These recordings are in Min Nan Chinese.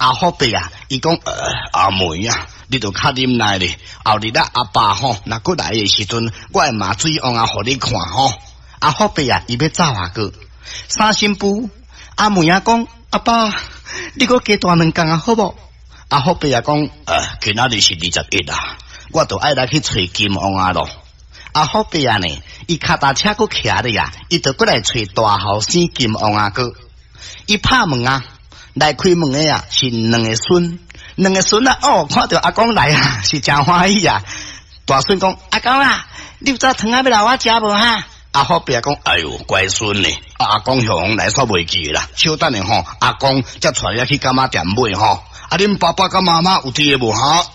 阿福伯啊，伊講阿妹啊，你著較忍耐咧。後日啊，阿爸吼，若閣來的時陣，我會罵水王仔予你看吼。阿福伯啊，伊欲走啊閣。三新婦阿妹仔講，阿爸，你閣加蹛兩工啊，好無？阿福伯啊講，今仔日是21啊，我著愛來去揣金王仔咯。阿福伯啊呢，伊跤踏車閣騎咧啊，伊就閣來揣大後生金王仔閣。伊拍門啊，來開門的啊是兩个孫，兩个孫啊，哦，看著阿公來啊，是誠歡喜啊。大孫講，阿公啊，你有早糖仔欲留我食無哈？阿福伯講，哎喲，乖孫呢？阿公向來煞袂記啦，小等下吼，阿公才帶你去柑仔店買吼。啊，恁爸爸佮媽媽有佇咧無哈？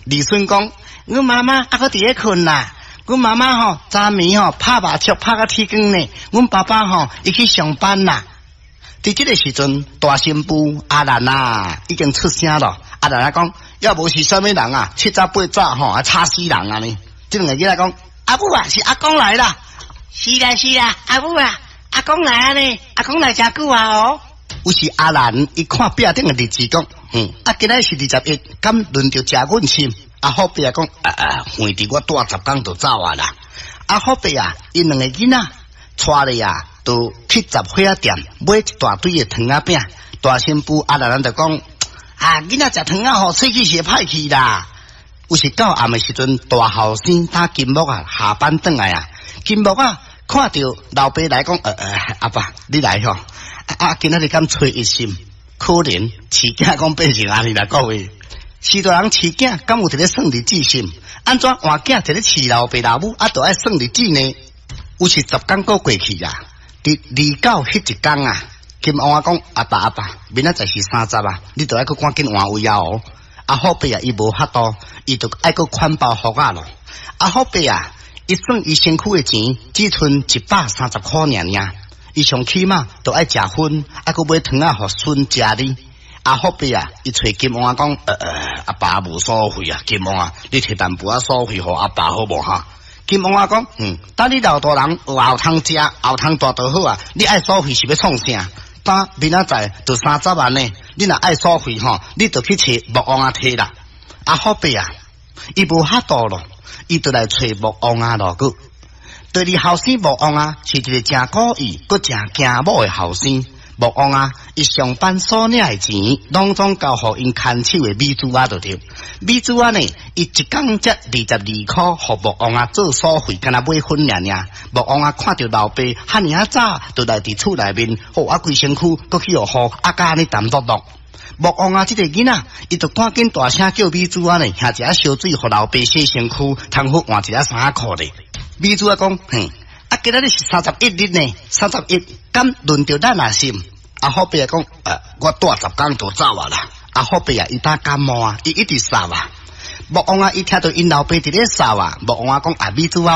二孫講，阮媽媽猶閣佇咧睏啦。阮媽媽吼，昨暝吼拍麻將拍甲天光呢。阮爸爸吼，伊去上班啦。佇這个時陣，大新婦阿蘭啊，已經出聲咯。阿蘭啊講，猶無是啥物人啊，七早八早吼，啊吵死人啊呢。這兩個囡仔講，阿母啊，是阿公來啦。是啦是啦，阿母啊，阿公來啊呢，阿公來誠久啊哦。有時阿蘭伊看壁頂的日子講，啊，今仔是21，敢輪著食阮參？阿福伯啊講，啊啊，橫佇我蹛10工就走啊啦。阿福伯啊，𪜶兩個囡仔帶咧啊，就去雜貨店買一大堆的糖仔餅。大新婦阿蘭就講，啊，囡仔食糖仔吼，喙齒是會歹去啦。有時到暗的時陣，大後生打金木啊下班轉來啊，金木啊看著老爸來講，阿爸你來吼，啊，今仔日敢初一心，可憐飼囝講變成按呢啦，各位。飼大人飼囝，敢有佇咧算日子心？按怎換囝佇咧飼老爸老母，啊，著愛算日子呢？有時10工閣過去啊，佇29彼一工啊，金王仔講，阿爸阿爸，明仔載是30啊，你著愛閣趕緊換位啊哦。阿福伯啊，伊無法度，伊著愛閣款包袱仔咯。阿福伯啊，伊算伊身軀的錢，只賰130箍爾爾，伊上起碼著愛食薰，愛閣買糖仔予孫食哩。阿福伯啊，伊揣金王仔講，阿爸無所費啊，金王仔，你提淡薄仔所費予阿爸好無哈？金王仔講，等你老大人有後通食，後通蹛就好啊。你愛所費是欲創啥？等明仔載就30萬呢，你若愛所費吼，你就去揣木王仔提啦。阿福伯啊，伊無法度咯，伊就來揣木王仔咯。閣第二後生木王仔是一个誠古意、閣誠驚某的後生。木王仔，伊上班所領的錢，攏總交予𪜶牽手的美珠仔就對。美珠仔呢，伊一工才22箍，予木王仔做所費，敢若買薰爾爾。木王仔看著老爸遐爾仔早，就來佇厝內面，予啊規身軀，閣去予雨啊甲按呢澹漉漉。木王仔這个囡仔，伊就趕緊大聲叫美珠仔呢，拿一仔燒水予老爸洗身軀，通好換一仔衫仔褲咧。美珠仔講，嘿。啊，今仔日是31日呢，三十一，敢輪著咱啊心？阿福伯講，我蹛10工就走啊啦。阿福伯啊，伊打感冒啊，伊一直嗽啊。木王仔，伊聽著𪜶老爸佇咧嗽啊，木王仔講，啊，美珠仔。